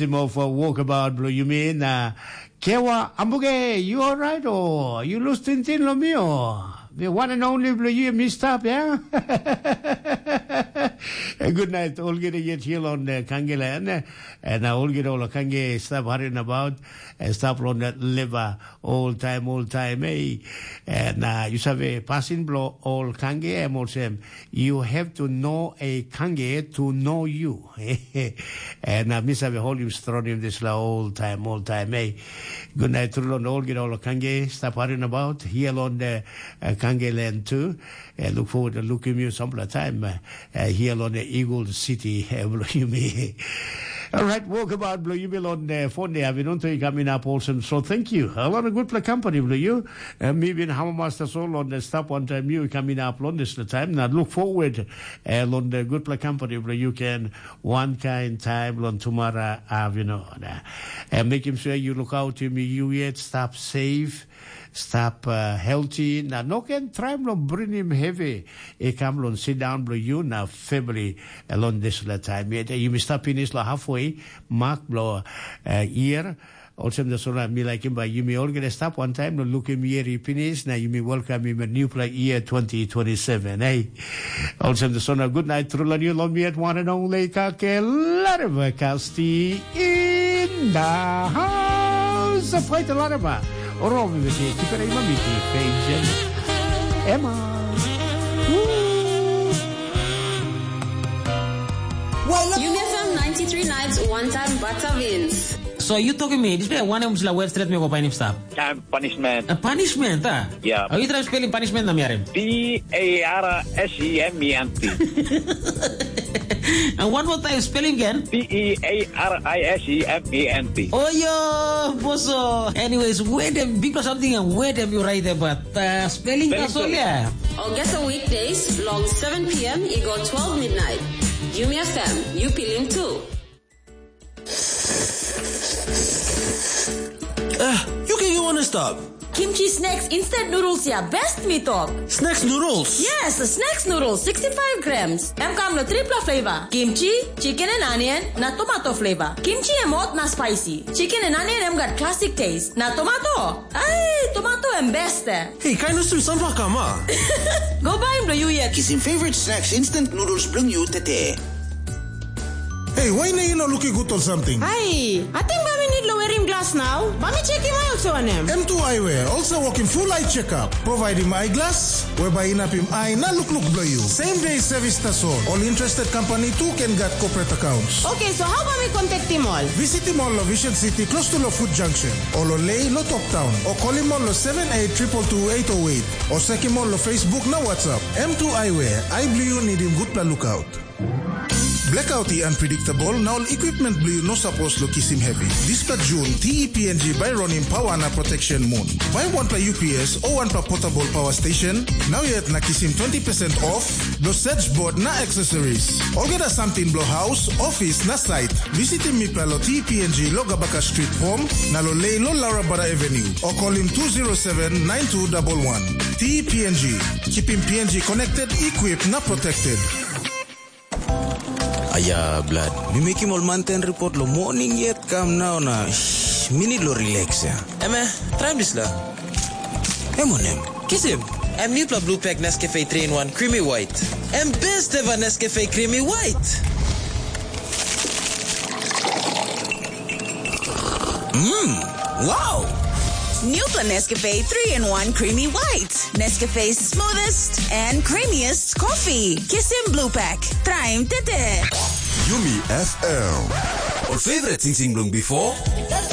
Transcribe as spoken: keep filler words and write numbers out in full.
Sim of uh, walkabout bilong yumi na Kewa Ambuge, you alright o? You lose tintin lo mi o? The one and only bilong you, mi stap, yeah? Good night, olgeta yet here on uh, Kangeland. And uh, olgeta ola Kange stap harin about, uh, stap on that liver all time, all time, eh? And uh, you save passing blow all Kange, em olsem, you have to know a Kange to know you. And uh, mi save holim stronim dispela ol taim ol taim ei. Gunai tru long olgeta ol kangge stap harin about hia long the uh, kangge land too. And look forward to looking you some time uh, uh, here on the Eagle City uh, yumi. All right, walk about blue you on the phone there. I've been on to you coming up awesome. So thank you. A lot of good for company blue you. Uh, me being Hammer Master Soul on the stop one time you coming up on this the time. Now look forward uh, on the good for company blue you can one kind time long tomorrow avino. And make him sure you look out to me, you yet stop safe, stop uh, healthy. Na no can try long bring him heavy. E come long sit down blo you na family along this la time yet. You may stop finish la halfway mark blo uh, year. Olsem da sona mi like him by you may all get a stop one time no look him here he finish. Now you may welcome him a new play year twenty twenty-seven. Hey, Olsem da sona good night through la new long me at one and only kake larva kasti in the house of fight larva. Oromi miti kipere imamiti pejen. Emma. Yumi F M ninety-three nights one time butter wins. So you talking me, this way one em sila web straight me go painim stap. Time punishment. A punishment, ah? Yeah. Are you trying spelling punishment na miarim? P A R S E M E N T. And one more time, spelling again. P E A R I S E M E N T. Oh yo, boso. Anyways, where them big or something and where them you write about uh, spelling Spelling that's all bee. Yeah. Or get a weekdays long seven p.m. It go twelve midnight. Yumi F M, you feeling too. Ah, you can go on and stop. Kimchi snacks instant noodles ya best mi tok. Snacks noodles. Yes, snacks noodles sixty-five grams. Em kam lo tripla flavor. Kimchi, chicken and onion, na tomato flavor. Kimchi em hot na spicy. Chicken and onion em gat classic taste. Na tomato. Ai, tomato em best. Eh. Hey, kain usum sunflower kama. Go buy em lo you yet. Kisim favorite snacks instant noodles bilong you tete. Hey, why na you not looking good or something? Ai, ating ba mi need lo wearing glass now. Ba mi checking oil so anem. M two Eyewear also working full eye checkup, providing eyeglass, whereby inapim eye na look look below you. Same day service tasol. All interested company too can get corporate accounts. Okay, so how about me contact him all? Visit him all lo Vision City close to lo Food Junction. Or lo Lay lo Top Town. Or call him all lo seven eight triple two eight oh eight. Or check him all lo Facebook na WhatsApp. M two Eyewear. I believe you need him good pla lookout. Blackout i unpredictable na ol equipment bilong yu no sapos long kisim heavy. Dispela Jun, T E P N G bai ronim pawa na protection mun. Bai wanpela U P S o wanpela portable power station, nau yet na kisim twenty percent off, lo search board na accessories. Olgeta samting bilong house, office na site, visitim mipela lo T E P N G lo Gabaka Street, Pom, na lo Lei lo Laura Bada Avenue, o kolim two zero seven nine two double one. T E P N G, keeping P N G connected, equipped na protected. Aya, blad. Mi mekim ol manten report lo morning yet kam nau na shh, mi need lo relax ya. Eme, traim dispela. Em wanem? Kisim. Em newpela blue pack Nescafe three in one creamy white. Em best ever Nescafe creamy white. Mmm, wow! New Nescafe three in one Creamy White. Nescafe's smoothest and creamiest coffee. Kisim Blue Pack. Try him tete. Yumi F M. Ol favorite sing sing bilong before?